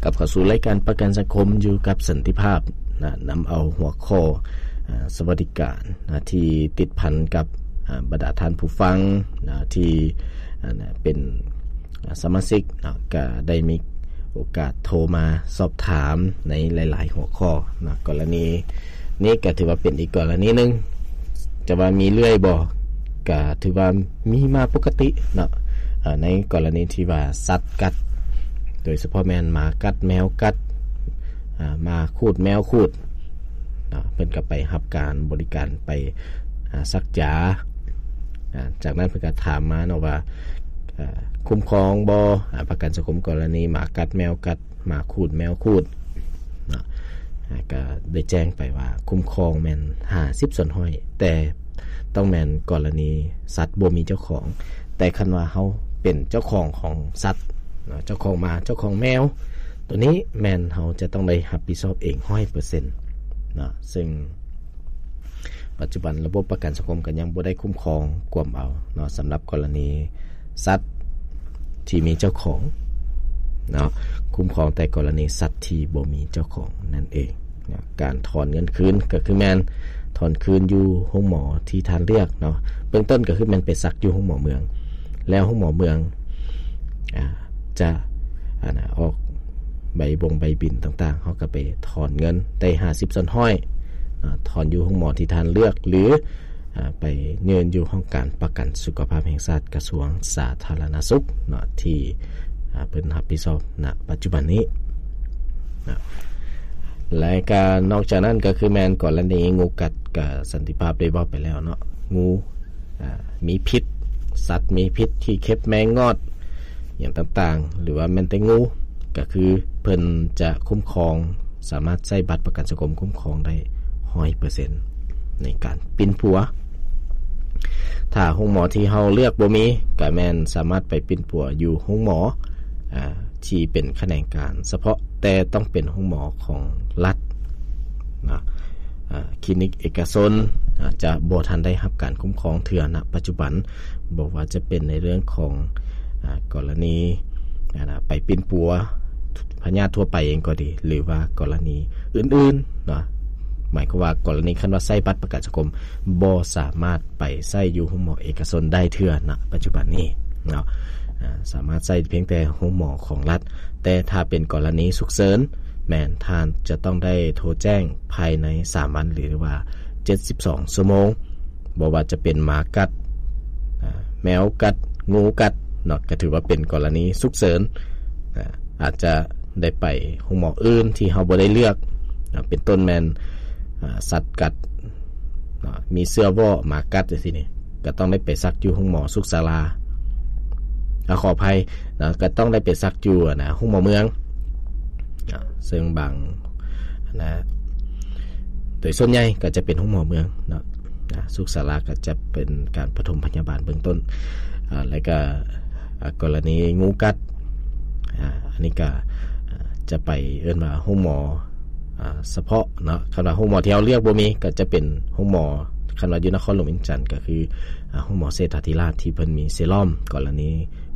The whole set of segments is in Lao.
ກັບເຂົ້າສູ່ລາຍການປະກັນສັງຄົມຢູ່ກັບສັນຕິພາບນະ, ນຳເອົາຫົວຂໍ້ ອາ ສະຫວັດດີການນະ ທີ່ຕິດພັນກັບ ອາ ບັນດາທ່ານຜູ້ຟັງນະ ທີ່ ອາ ເປັນ ອາ ສະມາຊິກນະ ກະໄດ້ມີໂອກາດໂທມາສອບຖາມໃນຫຼາຍໆຫົວຂໍ້ນະ. ກໍລະນີນີ້ກະຖືວ່າເປັນອີກກໍລະນີໜຶ່ງ, ຈະວ່າມີເລື້ອຍບໍ່ ກະຖືວ່າມີມາປົກກະຕິເນາະ. ອາ ໃນກໍລະນີທີ່ວ່າສັດກັດ ໂດຍສະເພາະແມ່ນໝາກັດ ແມວກັດ ອາ ໝາຂູດ ແມວຂູດເນາະ, ເພິ່ນກໍໄປຮັບການບໍລິການ ໄປ ອາ ສັກຢາ. ອາ ຈາກນັ້ນເພິ່ນກໍຖາມມາເນາະວ່າ ອາ ຄຸ້ມຄອງບໍ່ ອາ ປະກັນສັງຄົມກໍລະນີໝາກັດ ແມວກັດ ໝາຂູດ ແມວຂູດເນາະ. ອາ ກໍໄດ້ແຈ້ງໄປວ່າຄຸ້ມຄອງແມ່ນຫ້າສິບສ່ວນຮ້ອຍ ແຕ່ຕ້ອງແມ່ນກໍລະນີສັດບໍ່ມີເຈົ້າຂອງ. ແຕ່ຄັນວ່າເຮົາເປັນເຈົ້າຂອງຂອງສັດເນາະ, ເຈົ້າຂອງໝາ ເຈົ້າຂອງແມວ ຕົວນີ້ແມ່ນເຮົາຈະຕ້ອງໄດ້ຮັບຜິດຊອບເອງຮ້ອຍເປີເຊັນເນາະ, ເຊິ່ງປັດຈຸບັນລະບົບປະກັນສັງຄົມກໍຍັງບໍ່ໄດ້ຄຸ້ມຄອງກວມເອົາເນາະ ສຳລັບກໍລະນີສັດທີ່ມີເຈົ້າຂອງເນາະ, ຄຸ້ມຄອງແຕ່ກໍລະນີສັດທີ່ບໍ່ມີເຈົ້າຂອງນັ້ນເອງເນາະ. ການຖອນເງິນຄືນກໍຄືແມ່ນຖອນຄືນຢູ່ໂຮງໝໍທີ່ທ່ານເລືອກເນາະ. ເບື້ອງຕົ້ນກໍຄືແມ່ນໄປສັກຢູ່ໂຮງໝໍເມືອງ ແລ້ວໂຮງໝໍເມືອງ ອາ ຈະ ອາ ອອກໃບບົ່ງໃບບິນຕ່າງໆ, ເຮົາກໍໄປຖອນເງິນໄດ້ຫ້າສິບສ່ວນຮ້ອຍ ອາ ຖອນຢູ່ໂຮງໝໍທີ່ທ່ານເລືອກ ຫຼື ອາ ໄປຍື່ນຢູ່ຫ້ອງການປະກັນສຸຂະພາບແຫ່ງຊາດ ກະຊວງສາທາລະນະສຸກເນາະ ທີ່ ອາ ເພິ່ນຮັບຜິດຊອບນະປັດຈຸບັນນີ້ເນາະ. ແລະກະນອກຈາກນັ້ນກໍຄືແມ່ນກໍລະນີງູກັດ ກະສັນຕິພາບໄດ້ເວົ້າໄປແລ້ວເນາະ, ງູ ອາ ມີພິດ ສັດມີພິດ ຂີ້ເຂັບ ແມງງອດ ຫຍັງຕ່າງໆ ຫຼືວ່າແມ່ນແຕ່ງູ ກໍຄືເພິ່ນຈະຄຸ້ມຄອງ ສາມາດໃຊ້ບັດປະກັນສັງຄົມຄຸ້ມຄອງໄດ້ຮ້ອຍເປີເຊັນໃນການປິ່ນປົວ. ຖ້າໂຮງໝໍທີ່ເຮົາເລືອກບໍ່ມີ ກໍແມ່ນສາມາດໄປປິ່ນປົວຢູ່ໂຮງໝໍ ອາ ທີ່ເປັນຂະແໜງການສະເພາະ, ແຕ່ຕ້ອງເປັນໂຮງໝໍຂອງລັດນະ. ອາ ຄລີນິກເອກະຊົນ ອາ ຈະບໍ່ທັນໄດ້ຮັບການຄຸ້ມຄອງເທື່ອນະປັດຈຸບັນ, ບໍ່ວ່າຈະເປັນໃນເລື່ອງຂອງ ອາ ກໍລະນີ ອາ ໄປປິ່ນປົວພະຍາດທົ່ວໄປເອງກໍດີ ຫຼືວ່າກໍລະນີອື່ນໆເນາະ. ໝາຍຄວາມວ່າກໍລະນີຄັນວ່າໃຊ້ບັດປະກັນສັງຄົມ ບໍ່ສາມາດໄປໃຊ້ຢູ່ໂຮງໝໍເອກະຊົນໄດ້ເທື່ອນະປັດຈຸບັນນີ້ເນາະ, ອາ ສາມາດໃຊ້ພຽງແຕ່ໂຮງໝໍຂອງລັດ. ແຕ່ຖ້າເປັນກໍລະນີສຸກເສີນ ແມ່ນທ່ານຈະຕ້ອງໄດ້ໂທແຈ້ງພາຍໃນສາມວັນ ຫຼືວ່າເຈັດສິບສອງຊົ່ວໂມງ, ບໍ່ວ່າຈະເປັນໝາກັດ ອາ ແມວກັດ ງູກັດເນາະ, ກໍຖືວ່າເປັນກໍລະນີສຸກເສີນ. ອາ ອາດຈະໄດ້ໄປໂຮງໝໍອື່ນທີ່ເຮົາບໍ່ໄດ້ເລືອກເນາະ, ເປັນຕົ້ນແມ່ນ ອາ ສັດກັດເນາະ, ມີເຊື້ອວໍ້ ໝາກັດຈັ່ງຊີ້ນີ້ ກໍຕ້ອງໄດ້ໄປສັກຢູ່ໂຮງໝໍສຸກສາລາ, ອາ ຂໍອະໄພເນາະ, ກໍຕ້ອງໄດ້ໄປສັກຢູ່ ອັນນະ ໂຮງໝໍເມືອງເນາະ, ເຊິ່ງບາງ ອັນນະ ໂດຍສ່ວນໃຫຍ່ກໍຈະເປັນໂຮງໝໍເມືອງເນາະ, ອາ ສຸກສາລາກໍຈະເປັນການປະຖົມພະຍາບານເບື້ອງຕົ້ນ. ອາ ແລ້ວກໍ ອາ ກໍລະນີງູກັດ ອາ ອັນນີ້ກໍ ອາ ຈະໄປເອີ້ນວ່າໂຮງໝໍ ອາ ສະເພາະເນາະ. ຄັນວ່າໂຮງໝໍທີ່ເຮົາເລືອກບໍ່ມີ ກໍຈະເປັນໂຮງໝໍ ຄັນວ່າຢູ່ນະຄອນຫຼວງວຽງຈັນ ກໍຄື ອາ ໂຮງໝໍເສດຖາທິລາດ ທີ່ເພິ່ນມີເຊຣອມກໍລະນີ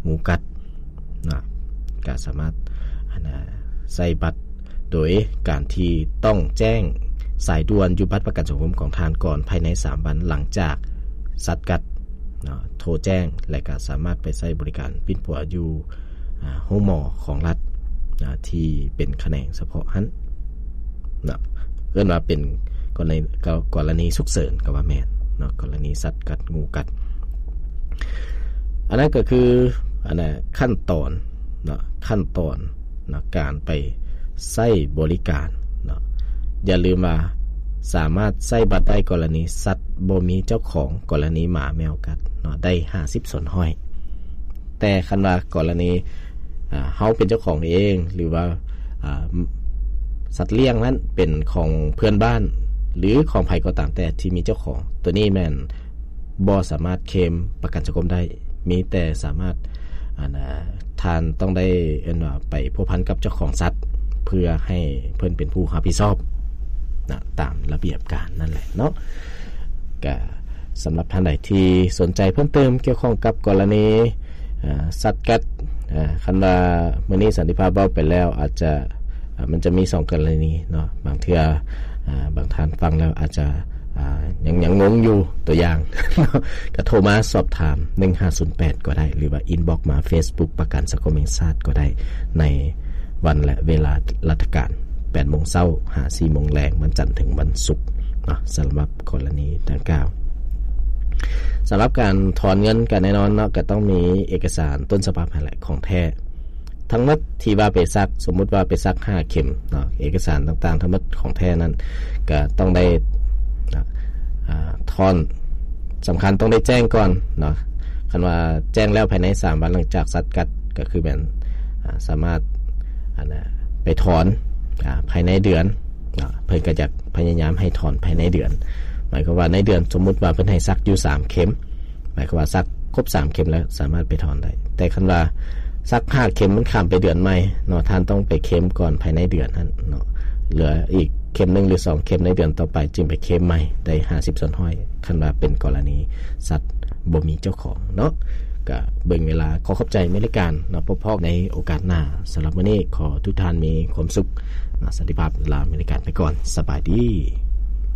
ງູກັດ ນະ ກະສາມາດ ອັນນະ ໃຊ້ບັດໂດຍການທີ່ຕ້ອງແຈ້ງສາຍດ່ວນຢູ່ບັດປະກັນສັງຄົມຂອງທ່ານກ່ອນ ພາຍໃນສາມວັນຫຼັງຈາກສັດກັດເນາະ ໂທແຈ້ງ ແລະ ກະສາມາດໄປໃຊ້ບໍລິການປິ່ນປົວຢູ່ ອາ ໂຮງໝໍຂອງລັດນະ ທີ່ເປັນຂະແໜງສະເພາະຫັ້ນນະ ເອີ້ນວ່າເປັນກໍລະນີ ກໍລະນີສຸກເສີນກໍວ່າແມ່ນເນາະ ກໍລະນີສັດກັດ ງູກັດ. ອັນນັ້ນກໍຄື ອັນນະ ຂັ້ນຕອນເນາະ ຂັ້ນຕອນເນາະ ການໄປໃຊ້ບໍລິການເນາະ. ຢ່າລືມວ່າສາມາດໃຊ້ບັດໄດ້ກໍລະນີສັດບໍ່ມີເຈົ້າຂອງ, ກໍລະນີໝາແມວກັດເນາະ ໄດ້ຫ້າສິບສ່ວນຮ້ອຍ. ແຕ່ຄັນວ່າກໍລະນີ ອາ ເຮົາເປັນເຈົ້າຂອງເອງ ຫຼືວ່າ ອາ ສັດລ້ຽງນັ້ນເປັນຂອງເພື່ອນບ້ານ ຫຼື ຂອງໃຜກໍຕາມແຕ່ທີ່ມີເຈົ້າຂອງ, ໂຕນີ້ແມ່ນບໍ່ສາມາດເຄມປະກັນສັງຄົມໄດ້. ມີແຕ່ສາມາດ ອັນນະ ທ່ານຕ້ອງໄດ້ ເອີ້ນວ່າ ໄປພົວພັນກັບເຈົ້າຂອງສັດ ເພື່ອໃຫ້ເພິ່ນເປັນຜູ້ຮັບຜິດຊອບນະ ຕາມລະບຽບການນັ້ນແຫຼະເນາະ. ກະສຳລັບທ່ານໃດທີ່ສົນໃຈເພີ່ມເຕີມກ່ຽວຂ້ອງກັບກໍລະນີ ອາ ສັດກັດ ອາ ຄັນວ່າມື້ນີ້ສັນຕິພາບເວົ້າໄປແລ້ວ ອາດຈະ ມັນຈະມີສອງກໍລະນີເນາະ ບາງເທື່ອ ອາ ບາງທ່ານຟັງແລ້ວອາດຈະ ອາ ຍັງ ຍັງງົງຢູ່ ຕົວຢ່າງ ກໍໂທມາສອບຖາມ ໜຶ່ງຫ້າສູນແປດ ກໍໄດ້ ຫຼືວ່າ inbox ມາ Facebook ປະກັນສັງຄົມແຫ່ງຊາດກໍໄດ້ ໃນວັນ ແລະ ເວລາລັດຖະການ ແປດໂມງເຊົ້າ ຫາ ສີ່ໂມງແລງ ວັນຈັນເຖິງວັນສຸກເນາະ ສຳລັບກໍລະນີດັ່ງກ່າວ. ສຳລັບການຖອນເງິນກໍແນ່ນອນເນາະ ກໍຕ້ອງມີເອກະສານຕົ້ນສະບັບຫັ້ນແຫຼະ ຂອງແທ້ ທັງໝົດທີ່ວ່າໄປສັກ ສົມມຸດວ່າໄປສັກຫ້າເຂັມເນາະ ເອກະສານຕ່າງໆທັງໝົດຂອງແທ້ນັ້ນ ກໍຕ້ອງໄດ້ ອາ ຖອນ ສຳຄັນຕ້ອງໄດ້ແຈ້ງກ່ອນເນາະ ຄັນວ່າແຈ້ງແລ້ວພາຍໃນສາມວັນຫຼັງຈາກສັດກັດ ກໍຄືແມ່ນ ອາ ສາມາດ ອັນນະ ໄປຖອນ ອາ ພາຍໃນເດືອນເນາະ ເພິ່ນກໍຈະພະຍາຍາມໃຫ້ຖອນພາຍໃນເດືອນ ໝາຍຄວາມວ່າໃນເດືອນ ສົມມຸດວ່າເພິ່ນໃຫ້ສັກຢູ່ສາມເຂັມ ໝາຍຄວາມວ່າສັກຄົບສາມເຂັມແລ້ວສາມາດໄປຖອນໄດ້ ແຕ່ຄັນວ່າສັກຫ້າເຂັມມັນຂ້າມໄປເດືອນໃໝ່ເນາະ ທ່ານຕ້ອງໄປເຂັມກ່ອນພາຍໃນເດືອນຫັ້ນເນາະ ເຫຼືອອີກເຂັມໜຶ່ງ ຫຼື ສອງເຂັມໃນເດືອນຕໍ່ໄປ ຈຶ່ງໄປເຂັມໃໝ່ໄດ້ຫ້າສິບສ່ວນຮ້ອຍ ຄັນວ່າເປັນກໍລະນີສັດບໍ່ມີເຈົ້າຂອງເນາະ. ກະເບິ່ງເວລາ ຂໍຂອບໃຈແມ່ນລາຍການເນາະ ພົບພໍ້ໃນໂອກາດໜ້າ ສຳລັບມື້ນີ້ຂໍທຸກທ່ານມີຄວາມສຸກເນາະ ສັນຕິພາບ ລາແມ່ນລາຍການໄປກ່ອນ ສະບາຍດີ.